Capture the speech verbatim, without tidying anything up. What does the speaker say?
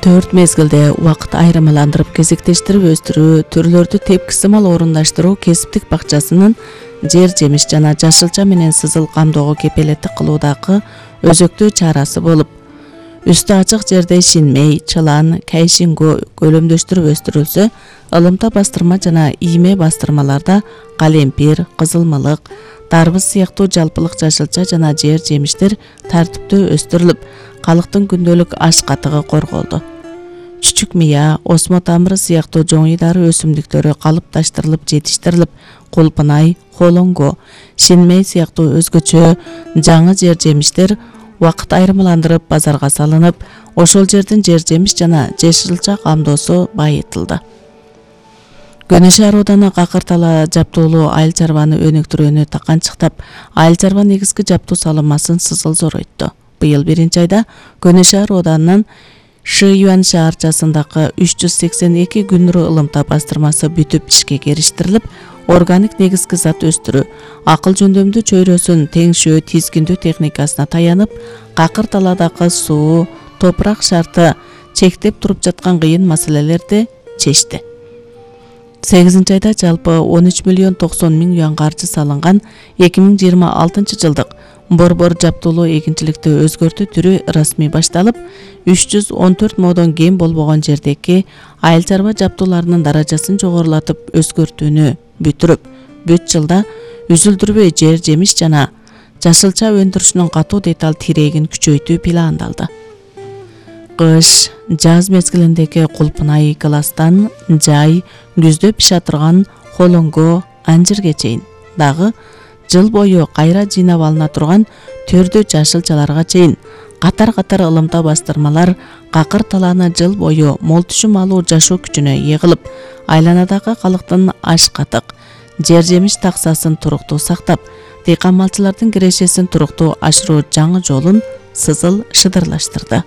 төрт мезгилде убакыт айырмаландырып кезектештирип өстүрүү, түрлөрдү тепкисимал орундаштыруу кесиптик бакчасынын жер жемиш жана жашылча менен сызыл камдоого кепелеттик кылуудагы өзөктүү чарасы болуп, үстү ачык жерде шинмей, чылан, кайшингөө көлөмдөштүрүп өстүрүлсө, ылымта бастырма жана ийме бастырмаларда калемпир, кызылмылык, дарбыз сыяктуу жалпылык жашылча жана жер жемиштер тартиптүү өстүрүлүп, калктын күндөлүк аш катыгы корголду. Чүчүк мыя, осмо тамыры сыяктуу жоңуй дары өсүмдүктөрү калыпташтырылып жетиштирилип, кулпунай, холоңго, шинмей сыяктуу өзгөчө жаңы жер жемиштер убакыт айырмаландырып базарга салынып, ошол жердин жер жемиш жана жашылча камдоосу байытылды. Көнө шаар ооданы Какыр тала жаптуулуу айыл чарбаны өнүктүрүүнү таканчыктап, айыл чарба негизги жаптуу салымасын сызыл зоройту. Быйыл биринчи айда Көнө шаар ооданын Шыюан шаарчасындагы үч жүз сексен эки күнүрө ылымта бастырмасы бүтүп ишке кириштирилип, органик негизги зат өстүрүү, акыл жөндөмдүү чөйрөсүн теңшөө тизгиндөө техникасына таянып, Какыр таладагы суу, топурак шарты чектеп туруп жаткан кыйын маселелерди чечти. сегизинчи айда жалпы он үч миллион токсон миң юан каржы салынган эки миң жыйырма алтынчы жылдык борбор жаптуулуу эгинчиликти өзгөртүү түрү расмий башталып, үч жүз он төрт модон кем болбогон жердеги айыл чарба жаптууларынын даражасын жогорулатып өзгөртүүнү бүтүрүп, бүт жылда үзүлдүрбөй жер жемиш жана жашылча өндүрүшүнүн катуу деталь тирегин күчөйтүү пландалды. Кыш, жаз мезгилиндеги кулпунай класстан жай, күздө пиша турган холоңго, анжирге чейин, дагы жыл бою кайра жыйнап алына турган төрдө жашылчаларга чейин катар-катар ылымта бастырмалар Какыр талааны жыл бою мол түшүм алуу жашоо күчүнө ээ кылып, айланадагы калктын аш катык, жер жемиш таксасын туруктуу сактап, дыйкан малчылардын кирешесин туруктуу ашыруу жаңы жолун сызыл шыдырлаштырды.